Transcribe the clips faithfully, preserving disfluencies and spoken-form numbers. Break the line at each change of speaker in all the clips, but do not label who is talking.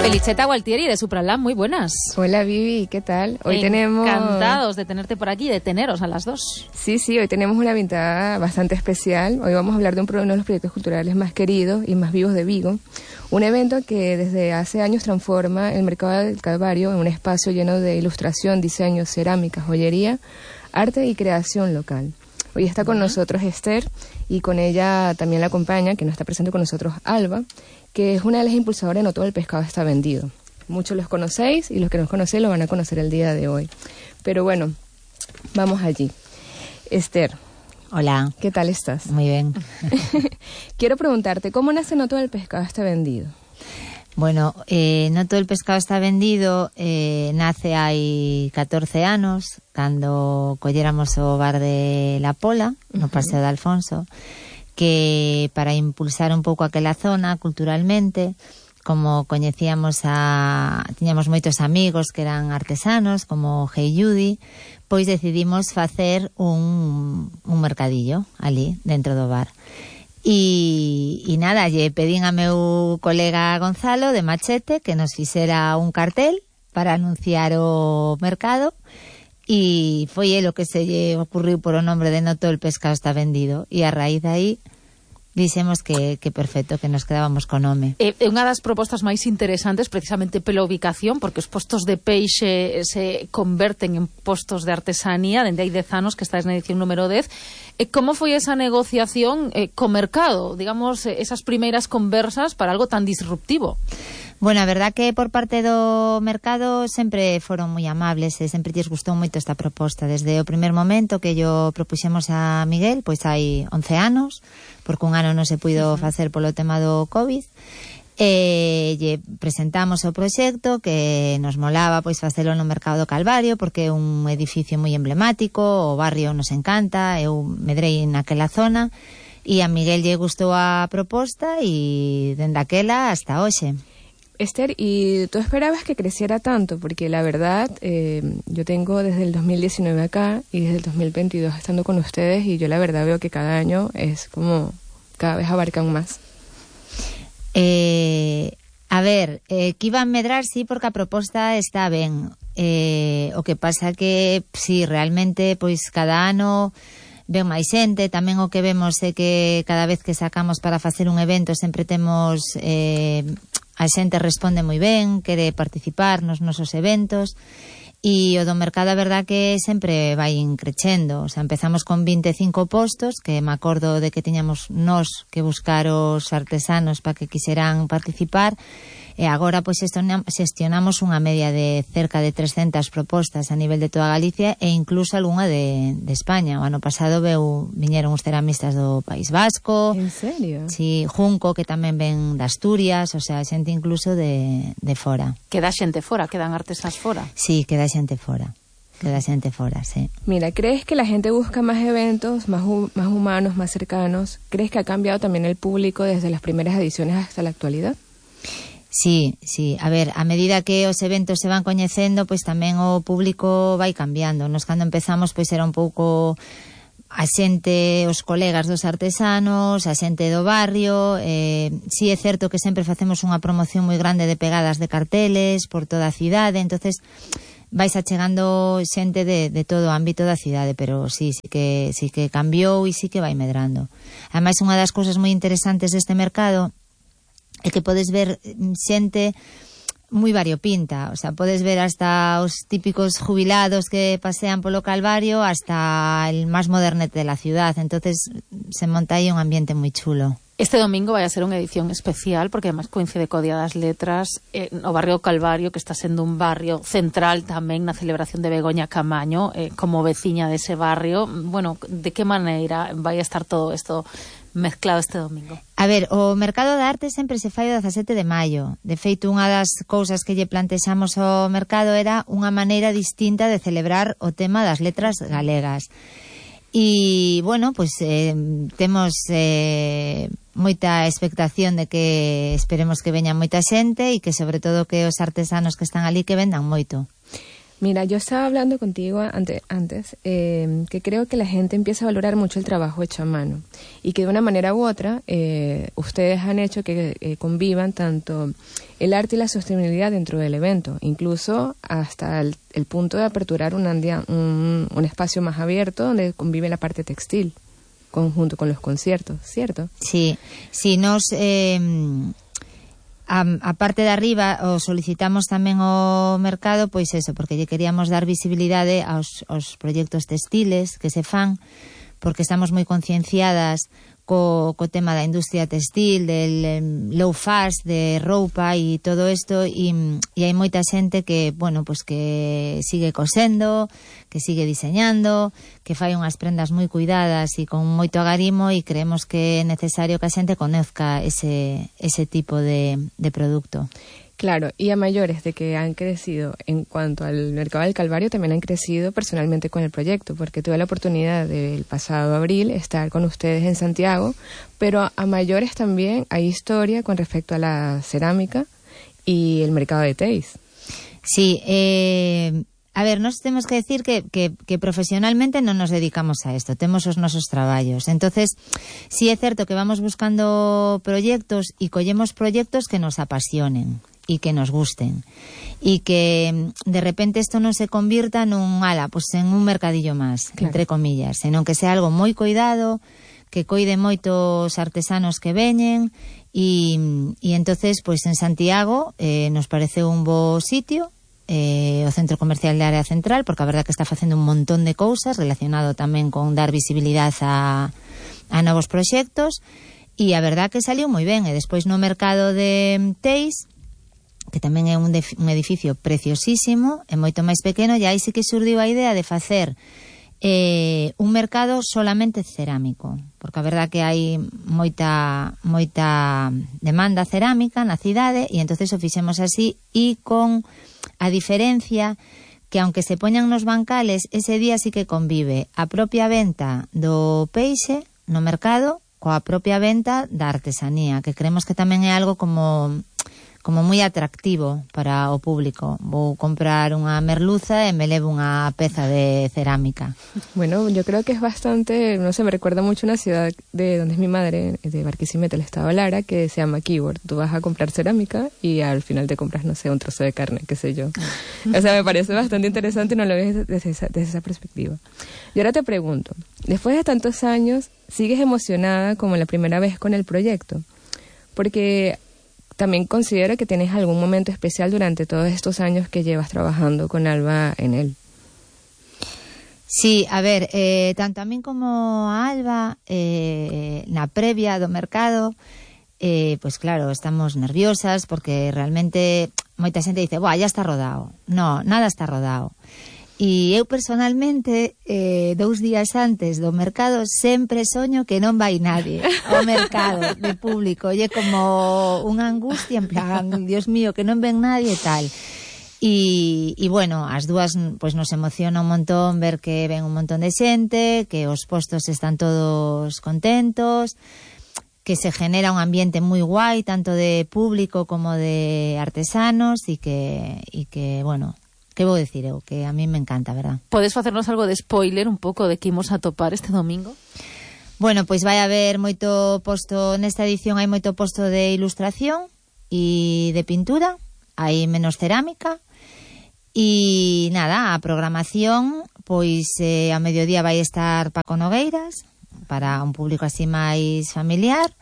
Feliceta Gualtieri de Supralam, muy buenas.
Hola Vivi, ¿qué tal? Hoy tenemos...
Encantados de tenerte por aquí, de teneros a las dos.
Sí, sí, hoy tenemos una invitada bastante especial. Hoy vamos a hablar de un, uno de los proyectos culturales más queridos y más vivos de Vigo. Un evento que desde hace años transforma el mercado del Calvario en un espacio lleno de ilustración, diseño, cerámica, joyería, arte y creación local. Hoy está con nosotros Esther y con ella también la acompaña, que no está presente con nosotros, Alba, que es una de las impulsadoras de No Todo el Pescado Está Vendido. Muchos los conocéis y los que no conocéis lo van a conocer el día de hoy. Pero bueno, vamos allí. Esther.
Hola.
¿Qué tal estás?
Muy bien.
Quiero preguntarte, ¿cómo nace No Todo el Pescado Está Vendido?
Bueno, eh, No Todo el Pescado Está Vendido eh, nace hai catorce anos, cando colléramos o bar de La Pola, no Paseo de Alfonso, que para impulsar un pouco aquela zona culturalmente, como coñecíamos a... tiñamos moitos amigos que eran artesanos, como Hey Judy, pois decidimos facer un, un mercadillo ali, dentro do bar. E, e nada, lle pedín a meu colega Gonzalo de Machete que nos fixera un cartel para anunciar o mercado, e foi el o que se lle ocurriu por o nombre de No Todo el Pescado Está Vendido, e a raíz de aí dixemos que, que perfecto, que nos quedábamos con nome.
É eh, unha das propostas máis interesantes precisamente pela ubicación, porque os postos de peixe se converten en postos de artesanía, dende hai dez anos que estáis na edición número dez. Eh, como foi esa negociación eh, co mercado? Digamos, eh, esas primeiras conversas para algo tan disruptivo.
Bueno, a verdad que por parte do mercado sempre foron moi amables e sempre lles gustou moito esta proposta. Desde o primer momento que yo propuxemos a Miguel, pois hai once anos, porque un ano non se puido facer polo tema do COVID, e lle presentamos o proxecto que nos molaba pois facelo no Mercado do Calvario, porque é un edificio moi emblemático, o barrio nos encanta, eu medrei naquela zona, e a Miguel lle gustou a proposta e dende aquela hasta hoxe.
Esther, ¿y tú esperabas que creciera tanto? Porque la verdad, eh, yo tengo desde el dos mil diecinueve acá y desde el dos mil veintidós estando con ustedes, y yo la verdad veo que cada año es como, cada vez abarcan más.
Eh, a ver, eh, que iba a medrar, sí, porque a proposta está ben. Eh, o que pasa que, sí, realmente, pois cada ano ven máis xente. Tamén o que vemos é que cada vez que sacamos para facer un evento sempre temos... Eh, a xente responde moi ben, quere participar nos nosos eventos, e o do mercado a verdad que sempre vai crecendo. O sea, empezamos con vinte e cinco postos, que me acordo de que tiñamos nós que buscar os artesanos para que quixeran participar, e agora pois xestionamos unha media de cerca de trescentas propostas a nivel de toda Galicia e incluso algunha de, de España. O ano pasado veu, viñeron os ceramistas do País Vasco.
En serio?
Sí, Junco, que tamén ven de Asturias, o sea, xente incluso de, de fora.
Queda xente fora, quedan artesas fora.
Sí, queda xente fora. Queda xente fora, sí.
Mira, ¿crees que la gente busca más eventos, más, más humanos, más cercanos? ¿Crees que ha cambiado también el público desde las primeras ediciones hasta la actualidad?
Sí, sí, a ver, a medida que os eventos se van coñecendo, pois tamén o público vai cambiando. Nos cando empezamos, pois era un pouco a xente, os colegas dos artesanos, a xente do barrio. Eh, sí é certo que sempre facemos unha promoción moi grande de pegadas de carteles por toda a cidade, entonces vais achegando xente de, de todo o ámbito da cidade, pero sí, sí que, sí que cambiou e sí que vai medrando. Ademais, unha das cousas moi interesantes deste mercado é que podes ver xente moi variopinta, o sea, podes ver hasta os típicos jubilados que pasean polo Calvario hasta el más modernete de la ciudad, entonces se monta aí un ambiente moi chulo.
Este domingo vai a ser unha edición especial porque además coincide co Día das Letras, eh, o barrio Calvario, que está sendo un barrio central tamén na celebración de Begoña Camaño, eh, como veciña dese barrio. Bueno, de que maneira vai a estar todo isto mezclado este domingo?
A ver, o Mercado de Arte sempre se fai o dezasete de maio. De feito, unha das cousas que lle plantexamos ao mercado era unha maneira distinta de celebrar o tema das letras galegas. E, bueno, pois eh, temos eh, moita expectación de que esperemos que veña moita xente e que, sobre todo, que os artesanos que están ali que vendan moito.
Mira, yo estaba hablando contigo ante, antes eh, que creo que la gente empieza a valorar mucho el trabajo hecho a mano y que de una manera u otra eh, ustedes han hecho que eh, convivan tanto el arte y la sostenibilidad dentro del evento, incluso hasta el, el punto de aperturar un, andia, un, un espacio más abierto donde convive la parte textil conjunto con los conciertos, ¿cierto?
Sí, sí, nos... Eh... A, a parte de arriba o solicitamos tamén ao mercado, pois eso, porque lle queríamos dar visibilidade aos, aos proxectos textiles que se fan, porque estamos moi concienciadas co, co tema da industria textil, del um, low fast, de roupa e todo isto, e, e hai moita xente que, bueno, pues que sigue cosendo, que sigue diseñando, que fai unhas prendas moi cuidadas e con moito agarimo, e creemos que é necesario que a xente conozca ese, ese tipo de, de producto.
Claro, y a mayores de que han crecido en cuanto al mercado del Calvario, también han crecido personalmente con el proyecto, porque tuve la oportunidad del pasado abril estar con ustedes en Santiago, pero a mayores también hay historia con respecto a la cerámica y el mercado de Teis.
Sí, eh... A ver, nos temos que decir que, que, que profesionalmente non nos dedicamos a esto, temos os nosos traballos. Entonces, sí é certo que vamos buscando proxectos e collemos proxectos que nos apasionen e que nos gusten. E que de repente isto non se convirta nun ala, pues en un mercadillo máis, claro, entre comillas, senón que sea algo moi cuidado, que coide moitos artesanos que veñen e, e entonces, pues en Santiago eh, nos parece un bo sitio, Eh, o Centro Comercial de Área Central, porque a verdad que está facendo un montón de cousas relacionado tamén con dar visibilidade a, a novos proxectos, e a verdad que saliu moi ben. E despois no mercado de Teis, que tamén é un, un edificio preciosísimo, é moito máis pequeno, e aí sí que surdiu a idea de facer eh, un mercado solamente cerámico, porque a verdad que hai moita moita demanda cerámica na cidade, e entonces o fixemos así, e con a diferencia que aunque se poñan nos bancales, ese día sí que convive a propia venta do peixe no mercado coa propia venta da artesanía, que creemos que tamén é algo como como moi atractivo para o público. Vou comprar unha merluza e me levo unha peza de cerámica.
Bueno, yo creo que es bastante, no sé, me recuerda mucho una ciudad de donde es mi madre, de Barquisimeto, el estado Lara, que se llama Keyboard. Tú vas a comprar cerámica y al final te compras, no sé, un trozo de carne, qué sé yo. O sea, me parece bastante interesante y no lo ves desde esa, desde esa perspectiva. Y ahora te pregunto, después de tantos años, ¿sigues emocionada como la primera vez con el proyecto? Porque también considero que tienes algún momento especial durante todos estos años que llevas trabajando con Alba en él.
Sí, a ver, eh, tanto a min como a Alba, eh, na previa do mercado, eh, pues claro, estamos nerviosas porque realmente moita xente dice, buah, ya está rodado. No, nada está rodado. E eu personalmente, eh, dous días antes do mercado, sempre soño que non vai nadie ao mercado de público. E é como unha angustia, en plan, Dios mío, que non ven nadie e tal. E, e bueno, as dúas pues, nos emociona un montón ver que ven un montón de xente, que os postos están todos contentos, que se genera un ambiente moi guai, tanto de público como de artesanos, e que, e que bueno... Que vou decir eu? Que a mí me encanta, verdad?
Podes facernos algo de spoiler un pouco de que imos a topar este domingo?
Bueno, pois vai haber moito posto, nesta edición hai moito posto de ilustración e de pintura, hai menos cerámica, e nada, a programación, pois eh, a mediodía vai estar Paco Nogueiras, para un público así máis familiar,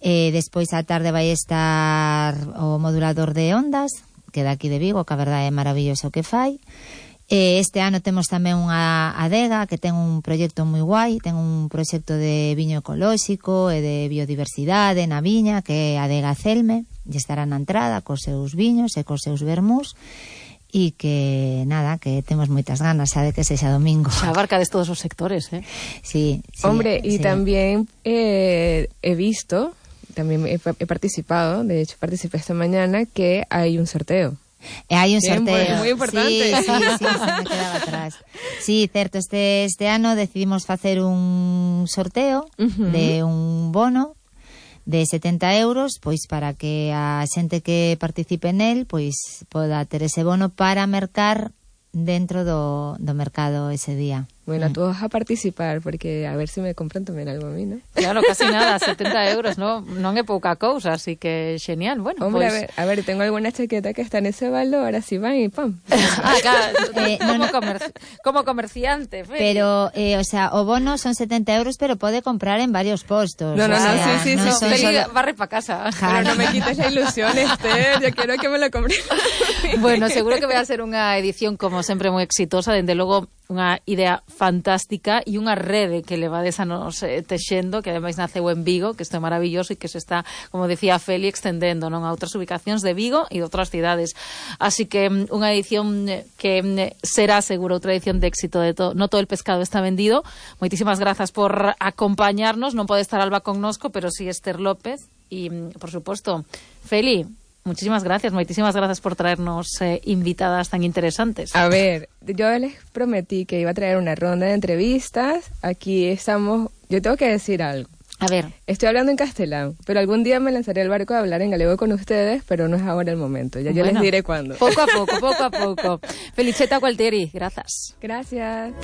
e despois á tarde vai estar o modulador de ondas, que daqui de Vigo, que a verdade é maravilloso o que fai. Eh, este ano temos tamén unha adega que ten un proxecto moi guai, ten un proxecto de viño ecolóxico e de biodiversidade na viña, que é a adega Celme, e estará na entrada cos seus viños e cos seus vermús, e que, nada, que temos moitas ganas, sabe, que sexa domingo.
Se abarcades todos os sectores, eh?
Sí, sí.
Hombre, y
sí.
también eh, he visto... También he, he participado, de hecho participé esta mañana, que hay un sorteo.
E hai un sorteo.
Bien, muy importante.
Sí, sí, sí, se me quedaba atrás. Sí, certo, este, este ano decidimos facer un sorteo uh-huh. de un bono de setenta euros, pois para que a xente que participe nel, pois poda ter ese bono para mercar dentro do, do mercado ese día.
Bueno,
mm.
todos a participar, porque a ver se me compran tamén algo a mí, ¿no?
Claro, casi nada, setenta euros, ¿no? Non é pouca cousa, así que genial. Bueno,
Hombre,
pues...
a ver, a ver, tengo alguna chaqueta que está en ese valor, así van y pam.
Ah, claro,
Eh,
como,
no, no.
comerci- como comerciante, Feli.
Pero, eh, o sea, o bono son setenta euros, pero pode comprar en varios postos.
No, no,
o
no,
sea,
sí, sí,
non
sí,
son
Feli
solo-
barre para casa.
Pero no me quites la ilusión, Esther, yo quiero que me lo compren.
Bueno, seguro que vai a ser unha edición, como sempre, moi exitosa, dende logo unha idea fantástica e unha rede que levades a nos eh, texendo, que ademais naceu en Vigo, que isto é maravilloso e que se está, como decía Feli, extendendo non a outras ubicacións de Vigo e de outras cidades. Así que mm, unha edición eh, que mm, será seguro outra edición de éxito de todo. No todo el pescado está vendido. Moitísimas grazas por acompañarnos. Non pode estar Alba connosco, pero sí Esther López e, mm, por suposto, Feli, muchísimas gracias, moitísimas gracias por traernos eh, invitadas tan interesantes.
A ver, yo les prometí que iba a traer una ronda de entrevistas. Aquí estamos, yo tengo que decir algo.
A ver.
Estoy hablando en castellano, pero algún día me lanzaré al barco a hablar en galego con ustedes, pero no es ahora el momento. Ya yo
Bueno,
les diré cuándo.
Poco a poco, poco a poco. Feliceta Gualtieri, gracias.
Gracias.